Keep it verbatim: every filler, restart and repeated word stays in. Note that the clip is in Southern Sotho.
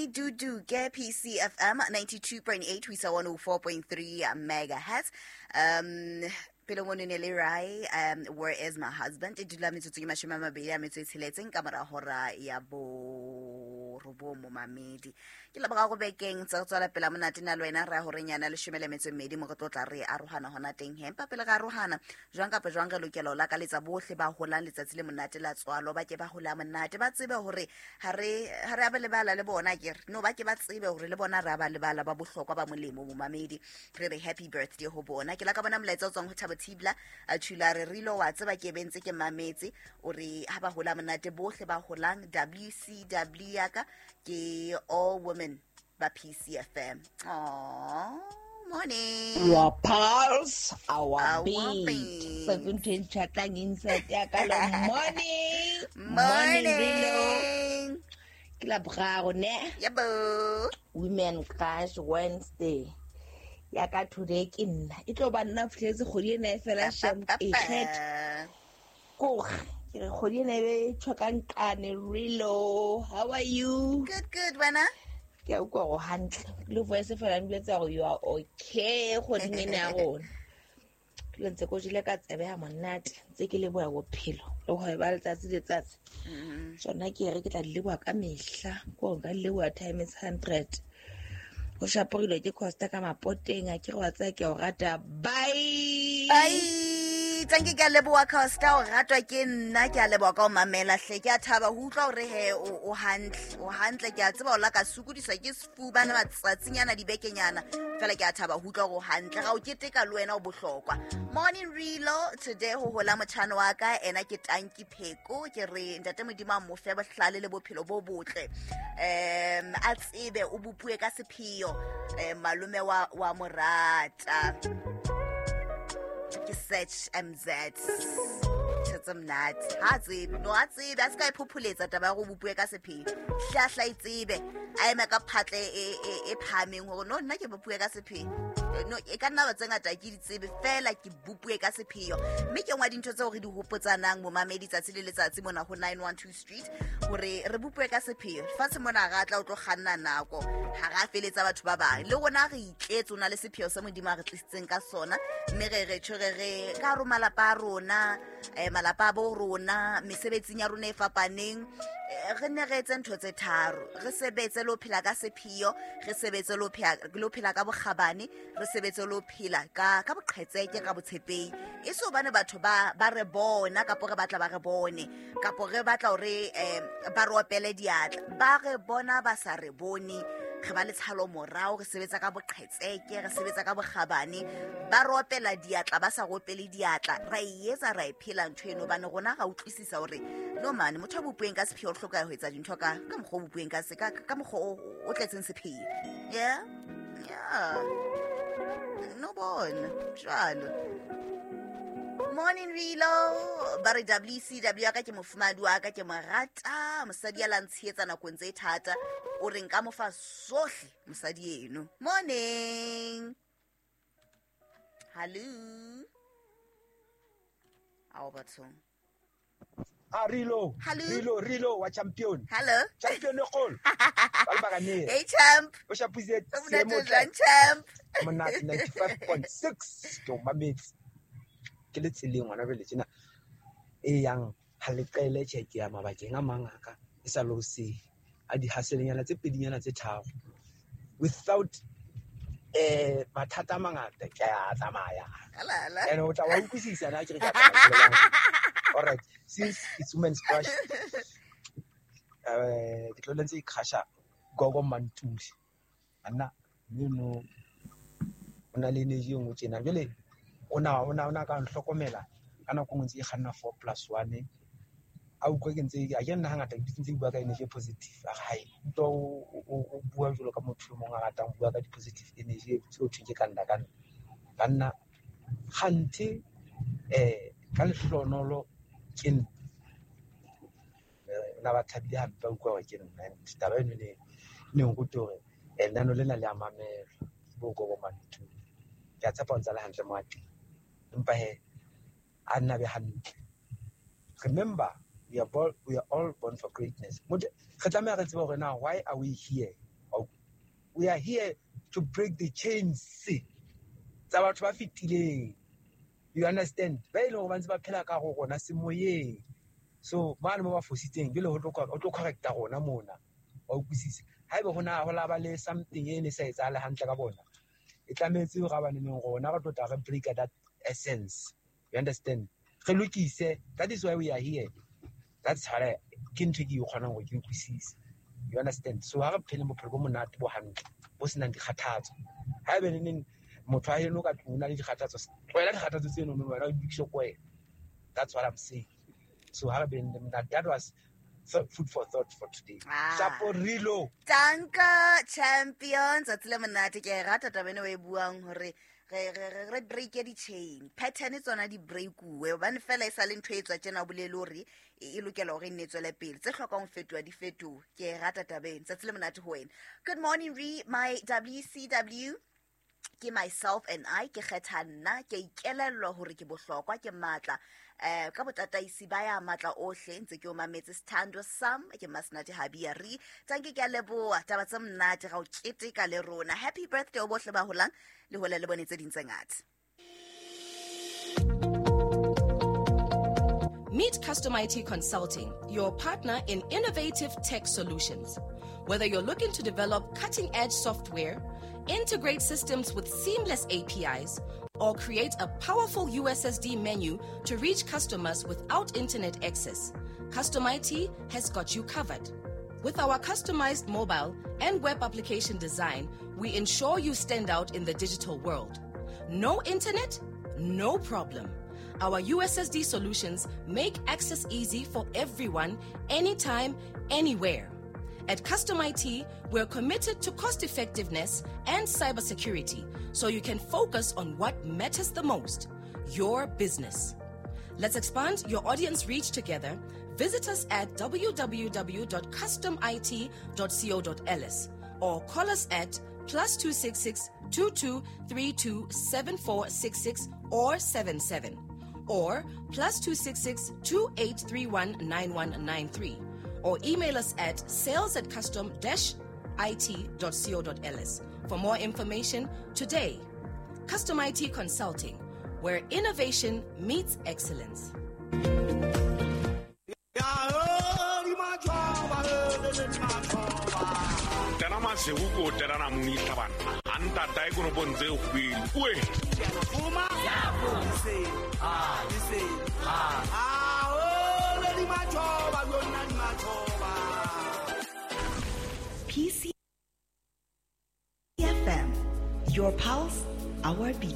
Meduduke P C F M ninety-two point eight ho isa one oh four point three megahertz. Um pele ngone ne le rai, um where is my husband? E dula metsotso e mashome a mabedi a metso e tsheletseng ka mora hora ya bo robong momamedi. Ke leboga go bekeng tsa go tswela pela monate na le wena re ya horeng yana leshome le metso e mmedi mo re tlo tla re arohana hona teng he. Empa pele re arohana jwang kapa jwang re lokela ho lakaletsa bohle ba holang letsatsi le monate la tswalo, ba ke ba hola monate, ba tsebe hore ha re ha re a ba lebala le bona ke re no, ba ke ba tsebe hore le bona re a ba lebala, ba bohlokwa ba molemo momamedi. Re re happy birthday ho bona. Ke la ka bona molaetsa o tswang ho Thabo Thibla a tshula re rilo wa tseba ke bentse ke mametse o re ha ba hola monate bohle ba holang W C W ya ka ke all women ba P C F M. Aww, morning. Your pulse, our, our beat. beat. seventeen chatlang inside ya ka lo. Morning. Morning. Morning. Ke la boraro ne? Yebo. Women Crush Wednesday. Ya ka today ke nna. E tlo ba nna fihletse kgwedi ena e fela shem e kgetha. Ko ke re kgwedi ena e be tshokang kane Rilo. How are you? Good, good, wena. Ke a utlwa hore hantle. Le voice fela nbletsa hore you are okay kgweding ena ya rona. Ke ntse ko jele ka tsebe ya monate, ntse ke leboha bophelo le ho ba letsatsi le letsatsi. Tsona ke re ke tla di leboha ka mehla, ko nka di leboha times hundred. Ho shaporilwe ke Costa ka mapoteng, a ke re wa tsaya ke o rata. Bye. Bye. Thank you, ke a leboha Costa, o ratwa ke nna, ke a leboha ka ho mamela hle. Ke a thaba ho utlwa hore he o, o hantle, o hantle. Ke a tseba o la ka sokodiswa ke sefuba na matsatsinyana dibekenyana, fela ke a thaba ho utlwa hore o hantle. Ga o keteka le wena o bohlokwa. Morning Rilo, today ho hola motjhana wa ka, ena ke Tanki Pheko. Ke re ntate Modimo a mo fe bohlale le bophelo bo botle. Um a tsebe o bopue ka sepheo, eh, malome wa, wa morata. Ke search M Z. Tshetse monate. Ha tsebe, no a tsebe, a se ka e phopholetsa taba ya go bopue ka sepheo. Hlahla e tsebe, a eme ka phatle e, e, e phahameng hore no nna ke bopue ka sepheo. No, e ka nna ba tse ngata ke di tsebe fela ke bopue ka sepheo. Mme ke nngwe ya dintho tseo re di hopotsanang momamedi tsatsi le letsatsi mona ho nine one two Street hore re bopue ka sepheo. Fatshe mona ra tla o tlo kganna nako, ha ra feletsa batho ba bang. Le rona re itletse, o na le sepheo se Modimo a re tlisitseng ka sona, mme re re tjho re re ka hare ho malapa a rona, eh, malapa a bo rona, mesebetsing ya rona e fapaneng, eh, re ne re etse ntho tse tharo. Re sebetse le ho phela ka sepheo, re sebetse le ho phela, le ho phela ka bokgabane, re sebetse le ho phela ka, ka boqhetseke, ka botshepehi. E se hobane batho ba, ba re bona kapo re batla ba re bone, kapo re batla hore, eh, ba re opele diatla. Ba re bona ba sa re bone, re ba le tshalo morao, re sebetsa ka boqhetseke, re sebetsa ka bokgabane, ba re opela diatla ba sa re opele diatla. Ra e etsa, ra e phela ntho eno, hobane rona ra utlwisisa hore no mane motho a bopueng ka sepheo o hloka ho etsa dintho ka, ka mokgwa o bopueng ka se, ka, ka mokgwa o, o tletseng sepheo. Yeah? Yeah. No bona. Jwalo. Morning Rilo, ba re W C W ya ka ke mofumadi wa ka, ke mo rata, mosadi ya la ntshehetsa nakong tse thata, o re nka mo fa sohle mosadi eno. Morning. Hello. Ao bathong. Ah, Rilo. Hello. Rilo, Rilo wa champion. Hello. Champion e kgolo. Ba le bakane. Hey champ. O shapise O monate seemo jwang, champ? Monate ninety-five point six ke o mametse. Ke le tseleng ngwana jwale tjena e yang ha le qele tjhe ke ya mabakeng a mang a ka e sa le hoseng a di haselenyana tse pedinyana tse tharo without eh mathata a mangata ke a tsamaya. Alala. And o tla wa utlwisisa na ke re ke a tsamaya. All right, since it's women's crush, eh ke tlo lentse ikhasha gogo Mantuli. Anna meno o na le energy e nngwe tjena jwale o na o na o na ka nhlokomela ka nako nngwe ntse e kganna four plus one a utlwa ke ntse a ke nna hangata ke ntse ke bua ka energy positive a hae utlwa o o bua jwalo ka motho e mong a ratang ho bua ka di-positive energy tseo thweng ke ka nna ka nna banna kganthe eh ka lehlohonolo ke nna na ba thabile hampe ba utlwa hore ke nna. And taba eno ne ne nrute hore lenano lena le a mamelwa ke bo Gogo Mantuli. Ke a tshepa o ntsa le hantle mo a teng, empa he a nna be hantle. Remember, we are born, we are all born for greatness. Motho re tlameha re tsebe hore na why are we here? We are here to break the chains tsa batho ba fetileng. You understand? Ba e leng hore ba ntse ba phela ka go rona semoyeng. So mane mo ba fositseng jwale ho tlo ho tlo correcta rona mona. Wa utlwisisa? Haeba ho na ho la ba le something e ne sa etsahale hantle ka bona, e tlametse hore ba baneng rona re tlo tla re break that essence. You understand? Re lokise. That is why we are here. That's how ke ntho e ke e kgonang hore ke utlwisise. You understand? So ha re phele bophelo bo monate bo hantle, bo senang dikgathatso. Haeba neneng motho a heno ka tlung o na le dikgathatso, tlohela dikgathatso tseno no wena o lokise ko wena. That's what I'm saying. So ha re beng le monate. That was food for thought for today. Ah. Shaporilo. Tanka champion tsatsi le monate. Ke e rata taba ena o e buang hore re re re re break di chain pattern tsona di breakuwe hobane fela e sa le ntho e tswa tjena o bolele hore e e lokela hore e nne e tswele pele, tse hlokang ho fetoha di fetohe. Ke e rata taba ena. Tsatsi le monate ho wena. Good morning re my W C W. Ke myself and I, ke kgetha nna, ke ikelellwa hore ke bohlokwa, ke matla. Eh, ka botataisi ba ya matla ohle, ntse ke o mametse Sithando Sam, ke Masnati Habia re. Tanki ke a leboha, taba tse monate ga o keteka le rona. Happy birthday ho bohle ba holang, le hole le bone tse ding tse ngata. Meet Custom I T Consulting, your partner in innovative tech solutions. Whether you're looking to develop cutting-edge software, integrate systems with seamless A P Is, or create a powerful U S S D menu to reach customers without internet access, Custom I T has got you covered. With our customized mobile and web application design, we ensure you stand out in the digital world. No internet? No problem. Our U S S D solutions make access easy for everyone, anytime, anywhere. At Custom I T, we're committed to cost effectiveness and cybersecurity, so you can focus on what matters the most, your business. Let's expand your audience reach together. Visit us at w w w dot custom i t dot co dot l s or call us at plus two six six, two two three two seven four six six or seven seven or plus two six six, two eight three one nine one nine three. Or email us at sales at custom dash I T dot co dot L S for more information today. Custom I T Consulting, where innovation meets excellence. P C F M, your pulse, our beat.